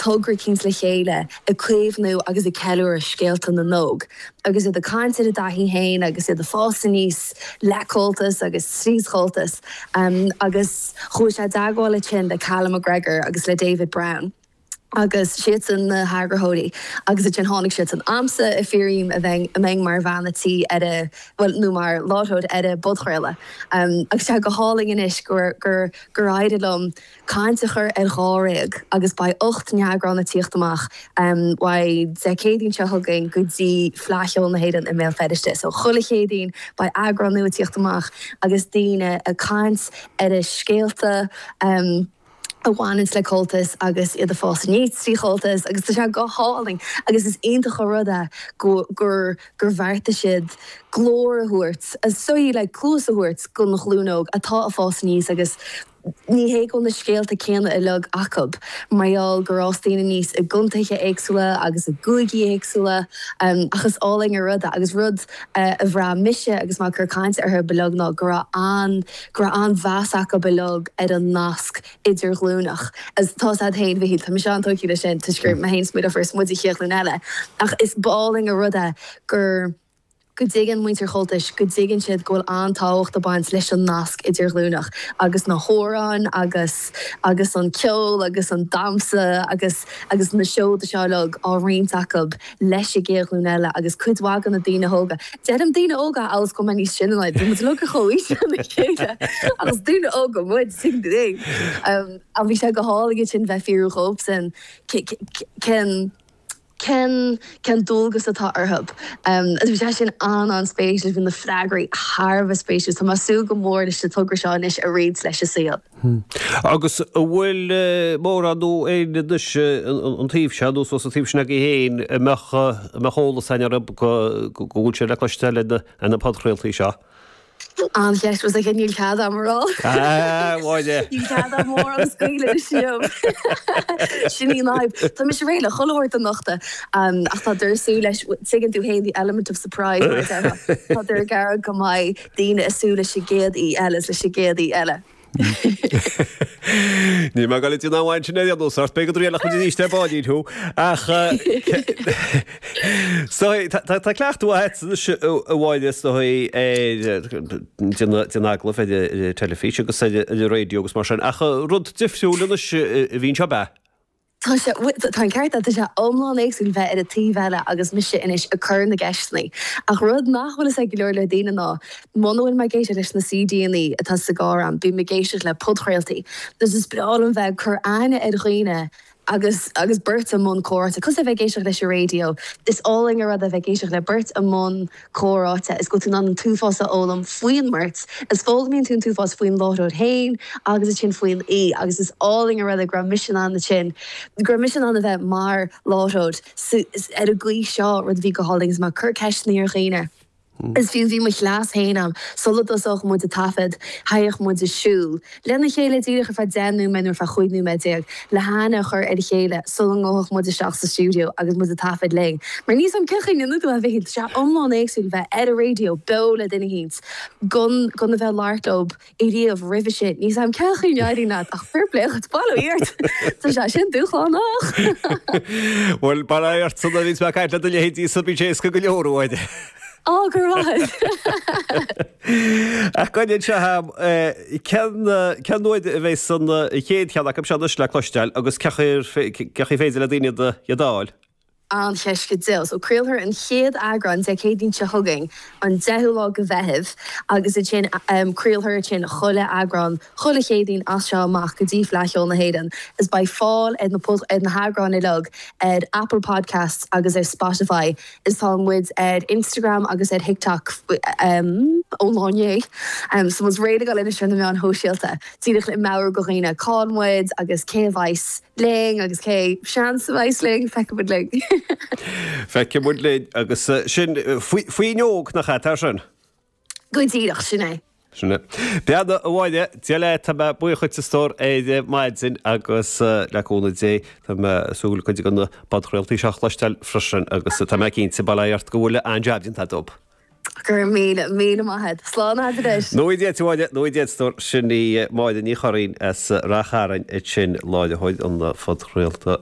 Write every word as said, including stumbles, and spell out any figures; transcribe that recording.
togra eicínt le chéile ag caomhnú agus ag ceiliúradh scéalta na n-óg. Agus iad ag caint ar a dtaithí féin agus iad ag fás aníos le Comhaltas agus trí Chomhaltas. Agus chuaigh sé i dteagmháil ansin le Callum McGregor agus le David Brown. Agus siadsan na heagarthóirí agus ansin tháinig siadsan chugamsa ag fiafraí díom a bheinn a mbeinn mar bhean a tí ar a bhuel nó mar láithreoir ar an bpodchraoladh. Agus tá go hálainn anois gur gur gur éirigh liom caint a chur ar dháréag agus beidh ocht n-eagrán ag tíocht amach uaidh Dé Céadaoin seo chugainn go dtí Fleadh Cheoil na hÉireann i mBéal Feirste. So chuile Chéadaoin beidh eagrán nua ag tíocht amach agus daoine ag caint ar a scéalta a bhaineanns le Comhaltas agus iad ag fás aníos trí Chomhaltas agus tá sé go hálainn agus is iontach an rud é go gur gur bheartaigh siad glór a thabhairt, is dóigh like cluas a thabhairt don ghlúin óg atá ag fás aníos agus ní hé go bhfuil na scéalta céanna uilig acu mar gheall gur fhás daoine aníos i gcontaetha éagsúla agus i gcúigí éagsúla ach is álainn an rud é agus rud a bhraith mise agus mé ag cur cainte orthu uilig ná go raibh an go raibh an-mheas acu uilig ar an nasc idirghlúineach. Is tá a fhios agat féin Mhichíl, tá mise an-tógtha leis sin toisc gur mé féin is mo dheirfiúr is muid an chéad ghlúin eile ach is álainn an rud é gur go dtuigeann muintir Chomhaltais, go dtuigeann siad go bhfuil an-tábhacht ag baint leis an nasc idirghlúineach agus na hamhráin agus agus an ceol agus an damhsa agus agus na seoda seo uilig á roinnt acu leis an gcéad ghlúin eile agus cuid mhaith de na daoine óga, deirim daoine óga amhail is go bhfuil mé níos sine ná iad, bhí muid uilig ar chomhaois lena chéile ach is daoine óga muid, tuigeann tú é. Ach bhí sé go hálainn ansin bheith ag fiafraí dhóibhsean cén Cén cén dualgas atá orthu? Agus bhí sé sin an-an-spéisiúil, bhí na freagraí thar a bheith spéisiúil. Tá mé ag súil go mór leis an togra seo anois a roinnt leis an saol. Agus an bhfuil mórán nó éinne anois an taobh seo nó suas an taobh sin agaibh féin a mbeadh a mbeadh eolas againn orthu go go bhfuil sé le cloisteáil ar na podchraoltaí seo? An-cheist was like níl cead agam a rá. Ah, Mháire! Níl cead agam mórán a scaoileadh anois liom. Sin í an fhadhb. Tá mise réidh le chuile shórt a nochtadh ach tá ag súil leis, tuigeann tú féin the element of surprise mar a déarfá. Tá ag iarraidh go mbeidh daoine ag súil leis an gcéad aoi eile is leis an gcéad aoi eile. Níl mé ag dul ag déanamh amháin sin ar aon nós ort, beidh go dtriailfidh muid arís ar ball thú. Ach so tá cleachtadh agat anois a Mháire is dóigh ar déanamh agallamh ar an teilifís agus ar an raidió agus mar sin ach rud difriúil anois a bhíonn seo ab ea? Tá sé, tá an ceart agat, tá sé iomlán éagsúil bheith ar an taobh eile agus mise anois ag cur na gceisteanna. Ach rud nach bhfuil fhios ag go leor leor daoine ná, muna bhfuil mé ag éisteacht leis na CDanna atá sa gcarr a'm, bím ag éisteacht le podchraoltaí. Agus is breá liom bheith ag cur aithne ar dhaoine agus agus beirt i mbun comhráite. Cosúil le bheith ag éisteacht leis an raidió, is álainn an rud é bheith ag éisteacht le beirt i mbun comhráite is go bhfuil tú in ann an t-uafás a fhoghlaim faoin mbeirt, is foghlaimíonn tú an t-uafás faoin láithreoir féin agus ansin faoin aoi agus is álainn an rud é go raibh mise in ann ansin, go raibh mise in ann a bheith mar láithreoir ar an gcaoi seo, rud a bhí go hálainn agus mé ag cur ceisteanna ar dhaoine. Is fiú, bhí mo chleas féin a'm, sula dtosódh muid ag taifead, théadh muid ag siúl lena chéile díreach ar feadh deich nóiméad nó ar feadh chúig nóiméad déag le haithne a chur ar a chéile sula ngabhfadh muid isteach sa stiúideo agus muid ag taifead linn. Mar níl 's a'm cén chaoi a ndéanann tú é a Mhichíl, tá sé iomlán éagsúil bheith ar an raidió beo le duine eicínt gan gan a bheith ag labhairt leo ariamh roimhe sin. Níl 's a'm cén chaoi a n-éiríonn leat ach fair play dhuit, bail ó Dhia ort! Tá sé sin dúshlánach! Bhuel, bail ó Dhia ort nuair a bhíonns mé ag caint le do leithéidí so bíonn sé éasca go leor uaidh. Á, go raibh maith agat! Ach go dtí seo, cén cén uair a bheas an chéad cheann acu seo anois le cloisteáil agus cén chaoi ar féidir le daoine iad a fháil? An-cheist go deo. So craolfar an chéad eagrán Dé Céadaoin seo chugainn, an deichiú lá de Mheitheamh, agus ansin craolfar ansin chuile eagrán chuile Chéadaoin as seo amach go dtí Fleadh Cheoil na hÉireann. Is beidh fáil ar na ar na heagráin uilig ar Apple Podcasts agus ar Spotify. Is tá muid ar Instagram agus ar TikTok ón lá inné. So muid réidh le dul anois ar na meáin shóisialta díreach le meabhrú do dhaoine cá bhfuil muid agus cé a bheas linn agus cé seans a bheas linn, feicfidh muid linn. Feicfidh muid linn agus sin Fuinneog nach ea, tá sin? Go díreach, sin é. Sin é. Beannacht a Mháire, Dia leat, tá mé buíoch dhuit a stór ar maidin agus le cúnamh Dé tá mé ag súil cuid de na podchraoltaí seo a chloisteáil freisin agus tá mé cinnte, bail ó Dhia ort, go bhfuil an-jab déanta agat. Go raibh míle, míle maith agat. Slán agat anois. Nó Dia duit a Mháire, nó Dia duit a stór, sin í Máire Ní Churraoin as Rath Chairn ansin, láithreoir an phodchraolta.